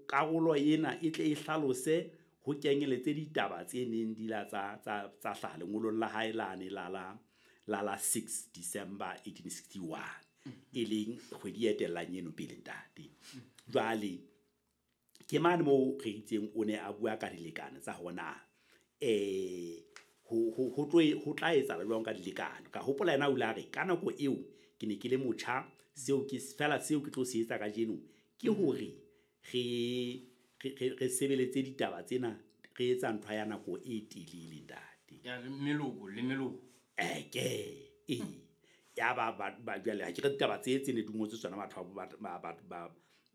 karolo ena e tle e hlalose ho kenyeletse ditaba tse neng di la tsa hlaha lengolong la hae lane la 6 December 1861, e leng kgwedi e etellang eno pele ntate. Jwale ke mane moo re itseng o ne a bua ka dilekane tsa hona ho tla etsahala jwang ka dilekane. Ka hopola yena o ile a re ka nako eo ke ne ke le motjha, seo ke fela seo ke tlo se etsa kajeno ke hore re sebeletse ditaba tsena, re etsa ntho ya nako e telele ntate. Ya meloko le meloko. Ya ba jwale ha ke re ditaba tse ne di ngotswe tsona batho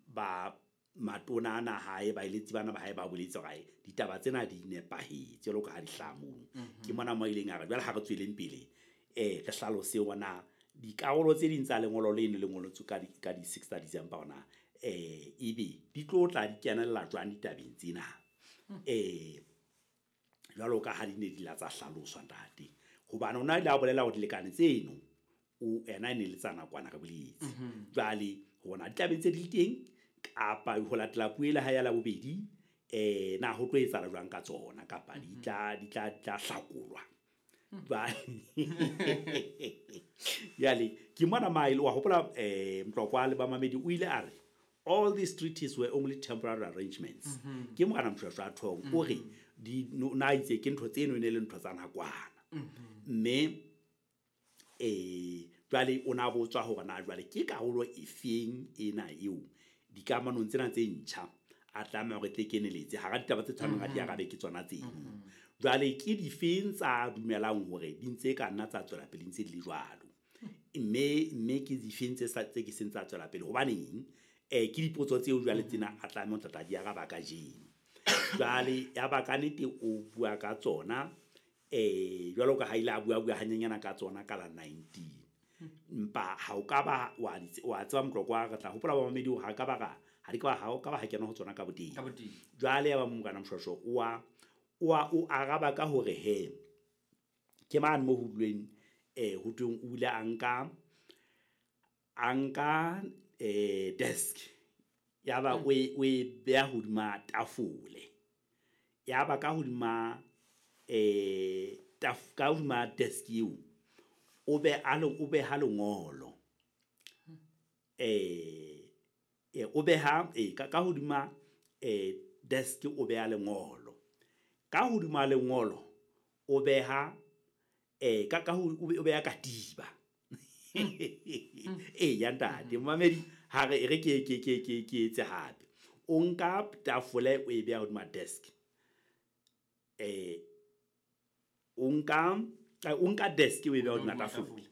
ba matona ana hae ba eletsi bana ba hae ba boletse hore ditaba tsena di nepahetse jwalo ka ha di hlaha mono. Ke mona mo ileng a re jwale ha re tsweleng pele re hlalose hore dikarolo tse ding tsa lengolo leno le ngolotswe ka di 6 December hona ebe di tlo tla di kenella jwang ditabeng tsena jwalo ka ha di ne di la tsa hlaloswa ntate. Hobane ona ile a bolela hore dilekane tseno o ena ne le tsa nakwana re boletse. Jwale hona ditabeng tse di teng kapa ho latela puo le ha ya la bobedi na ho tlo etsahala jwang ka tsona kapa di tla hlakolwa. Jwale ke mona maile wa hopola Mtlokwa le bamamedi o ile a re all these treaties were only temporary arrangements. Ke morena Moshoeshoe a thong o re di na itse ke ntho tseno ne le ntho tsa nakwana. Mme jwale o na botswa hore na jwale ke karolo efeng ena eo dikamanong tsena tse ntjha a tlameha hore tle keneletse hara ditaba tse tshwanang di arabe ke tsona tseno. Jwale ke difeng tsa dumelang hore di ntse ka nna tsa tswela pele ntse di le jwalo, mme ke difeng tse ke seng tsa tswela pele hobaneng ke dipotso tseo jwale tsena a tlameha ho tla di araba kajeno. Jwale ya ba ka nnete o bua ka tsona jwalo ka ha ile a bua hanyenyana ka tsona ka la 19. Mpa ha o ka ba wa tseba Mtlokwa re tla hopola ba mamedi hore ha ka ba ha kena ho tsona ka boteng. Jwale ya ba morena Moshoeshoe o araba ka hore he ke mane mo ho duleng ho tweng o ile a nka desk ya ba o e beha hodima tafole, ya ba ka hodima ka hodima desk eo o beha lengolo o beha ka hodima desk o beha lengolo, ka hodima lengolo o beha o beha katiba. Ya ntate mamedi ha re ke etse hape. O nka tafole o e beha hodima desk, o nka desk o e beha hodima tafole,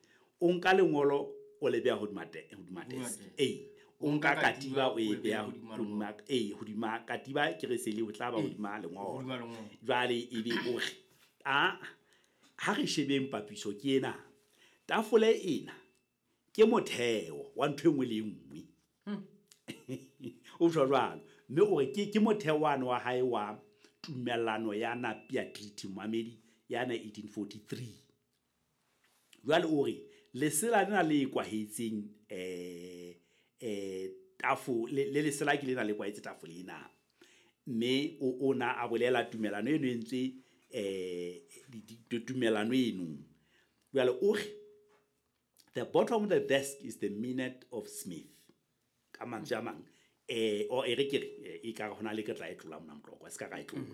o nka lengolo o le beha hodima desk, o nka katiba o e beha hodima hodima katiba ke re sele o tla ba hodima lengolo. Jwale ebe o re a ha re shebeng papiso ke ena, tafole ena ke motheo wa ntho e nngwe le e nngwe. O tjho jwalo, mme o re ke motheo wane wa hae wa tumellano ya Napier Treaty mamedi ya 1843. Jwale o re lesela lena le kwahetseng tafole le lesela ke lena le kwahetse tafole ena, mme o na a bolela tumellano eno e ntse tumellano eno. Jwale o re the bottom of the desk is the minute of Smith. Ka mantswe a mang o e re ke re e ka hona le ke tla e tlola mona Mtlokwa se ka ra e tlola.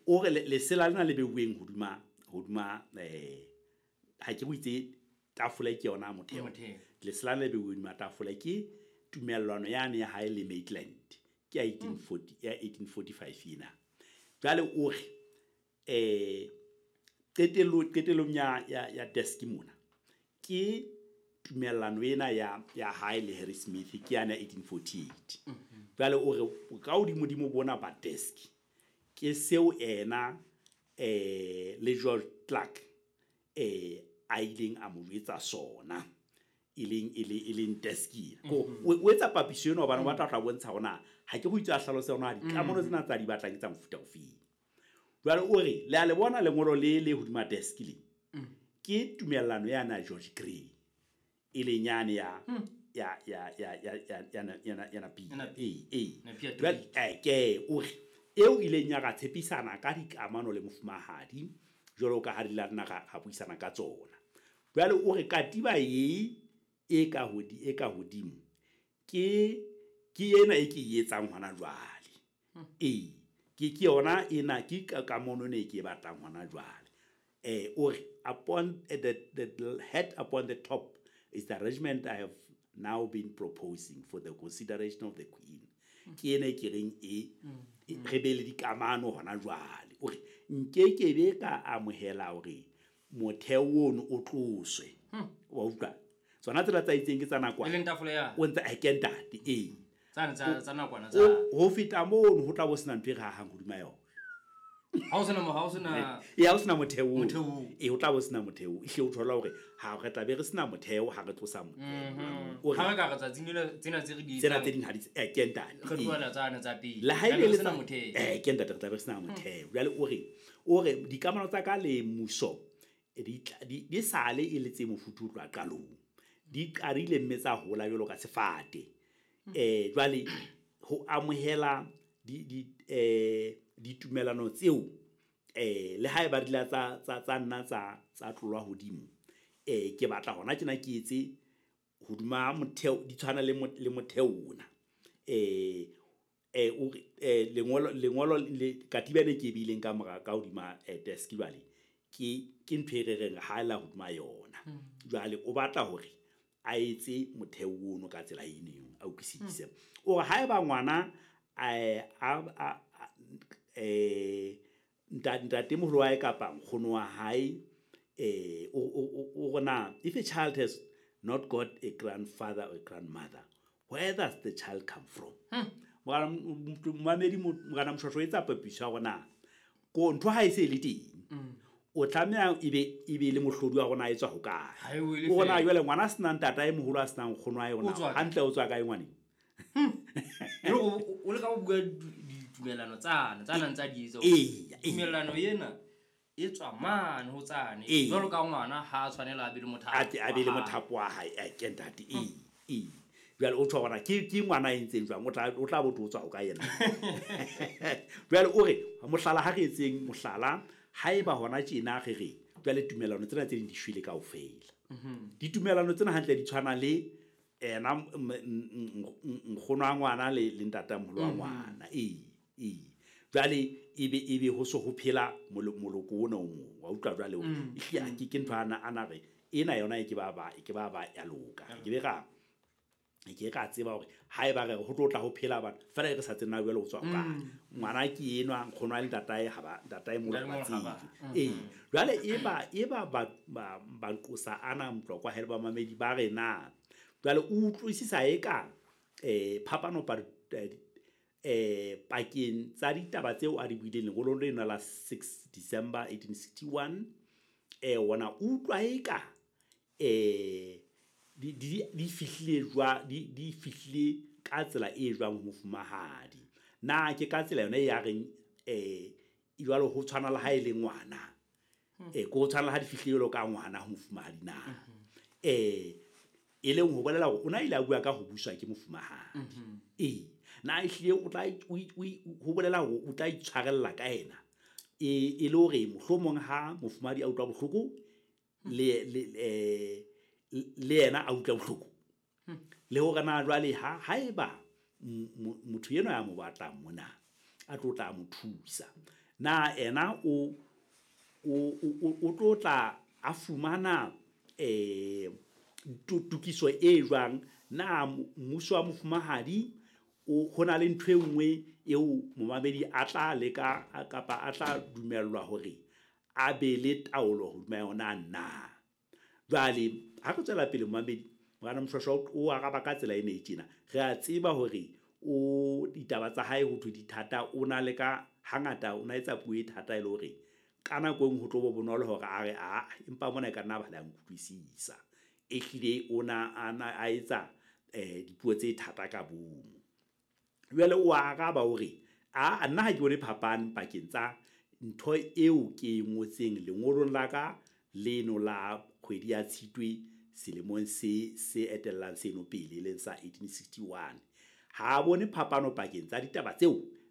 O re lesela lena le beuweng hodima ha ke buitse tafole ke yona motheo. Lesela le beuweng hodima tafole ke tumellano yane ya hae le Maitland ke ya 1840 ya 1845 ena. Jwale o re qetellong ya desk mona ke tumellano ena ya hae le Harry Smith ke yana 1848. Jwale o re ka hodimo bona ba desk ke seo ena le George Clark a ileng a mo jwetsa sona e leng desk ena. O etsa papiso ena hobane o batla ho tla bontsha hore na ha ke go itse a hlalose hore na dikamano tsena tsa di batlang ke tsa mofuta ofeng. Jwale o re le a le bona lengolo le hodima desk le ke tumellano yana George Grey e leng yane ya ya ya ya ya ya ya ya ya Napia. Ee, jwale ke o re eo ileng ya ra tshepisana ka dikamano le mofumahadi jwalo ka ha di la nna ra buisana ka tsona. Jwale o re katiba e ka hodimo ke ena e ke e etsang hona jwale. Ee, ke yona ena ke kamano ena e ke e batlang hona jwale. O re upon the head upon the top is the arrangement I have now been proposing for the consideration of the Queen. Ke ena e ke reng e re be le dikamano hona jwale. O re nkekebe ka amohela hore motheo ono o tloswe. Wa utlwa? Tsona tsela tsa itseng ke tsa nakwana. E leng tafole ya. O ntse a ke ntate, ee. Tsa nakwana tsa. Ho feta mono ho tla bo sena ntho e re hahang hodima yona. Ha o sena ee, ha o sena motheo. Ee, ho tla bo sena motheo. Ehlile o thola hore ha re tla be re sena motheo ha re tlosa motheo. Ha re ka re tsatsing tsena tse re di tsena tse ding ha di ke ntate. Re tlohela tsane tsa pele. Le ha e le sena motheo. Ke ntate, re tla be re sena motheo. Jwale o re dikamano tsa ka le mmuso di sale e le tse mofuthu ho tloha qalong. Di qadile mme tsa hola jwalo ka sefate. Jwale ho amohela ditumelano tseo le ha eba di la tsa nna tsa tlolwa hodimo, ke batla hona tjena ke etse hodima motheo, di tshwana le motheo ona. O lengolo le katiba ena ke e beileng ka mora ka hodima desk jwale ke ntho e re reng ha la hodima yona. Jwale o batla hore a etse motheo ono ka tsela eno, a utlwisise. O re haeba ngwana ntatemoholo wa hae kapa nkgono wa hae, o rona if a child has not got a grandfather or a grandmother, where does the child come from? Momamedi Morena Moshweshwe o etsa papiso ya hore ko ntho ha e se le teng, o tlameha ebe le mohlodi wa rona e tswa hokae. O rona jwale ngwana a senang ntatae moholo a senang nkgono wa yona, hantle o tswa kae ngwaneng? O leka ho bua ditumelano tsane tsa nang tsa di etsa. Tumelano ena e tswa mane ho tsane. Jwalo ka ngwana ha a tshwanela a be le mothapo. A be le mothapo wa hae, ke ntate. Ee. Jwale o tshwa hore ke ngwana e ntseng jwang, o tla bo o tswa ho kae yena. Jwale o re mohlala ha re etseng mohlala, haeba hona tjena re re jwale tumelano tsena tse ding di shwele kaofela. Ditumelano tsena hantle di tshwana le ena nkgono wa ngwana le ntatamoholo wa ngwana. Ee. Jwale ebe ho so ho phela moloko ona o mong. Wa utlwa jwale o ehlile ke ntho ana re ena yona e ke ba ya loka. Ke be ra ke ka tseba hore haeba re ho tlo tla ho phela bana fela re sa tsena jwale ho tswa kae. Ngwana ke enwa nkgono wa le ntatae ha ba ntatae moholo ba tsebe. Ee. Jwale eba ba nqosa ana Motlokwa hele ba mamedi ba re na jwale o utlwisisa eka phapano pakeng tsa ditaba tseo a di buileng lengolong lena la 6 December 1861, wona utlwa eka di fihlile jwa di fihlile ka tsela e jwang ho mofumahadi. Na ke ka tsela yona e ya reng jwalo ho tshwana le ha e le ngwana, ko ho tshwana le ha di fihlile jwalo ka ngwana ho mofumahadi na. E leng ho bolela hore o na ile a bua ka ho buswa ke mofumahadi. Ee, na ehlile o tla ho bolela hore o tla itshwarella ka yena, e le hore mohlomong ha mofumahadi a utlwa bohloko le yena a utlwa bohloko. Le hore na jwale ha haeba motho enwa ya mo batlang mona a tlo tla mo thusa, na ena o tlo tla a fumana tokiso e jwang? Na mmuso wa mofumahadi ho na le ntho e nngwe eo momamedi a tla leka kapa a tla dumellwa hore a be le taolo hodima yona na? Jwale ha re tswela pele momamedi Morena Moshweshwe o araba ka tsela ena e tjena. Re a tseba hore o ditaba tsa hae ho thwe di thata, o na le ka hangata o na etsa puo e thata e le hore ka nako e nngwe ho tlo bo bonolo hore a re a empa mona e ka nna ba le a nkutlwisisa. Ehlile o na a etsa dipuo tse thata ka bomo. Jwale o araba hore a nna ha ke bone phapang pakeng tsa ntho eo ke e ngotseng lengolong la ka leno la kgwedi ya Tshitwe selemong se se etellang seno pele, e leng sa 1861. Ha a bone phapano pakeng tsa ditaba tseo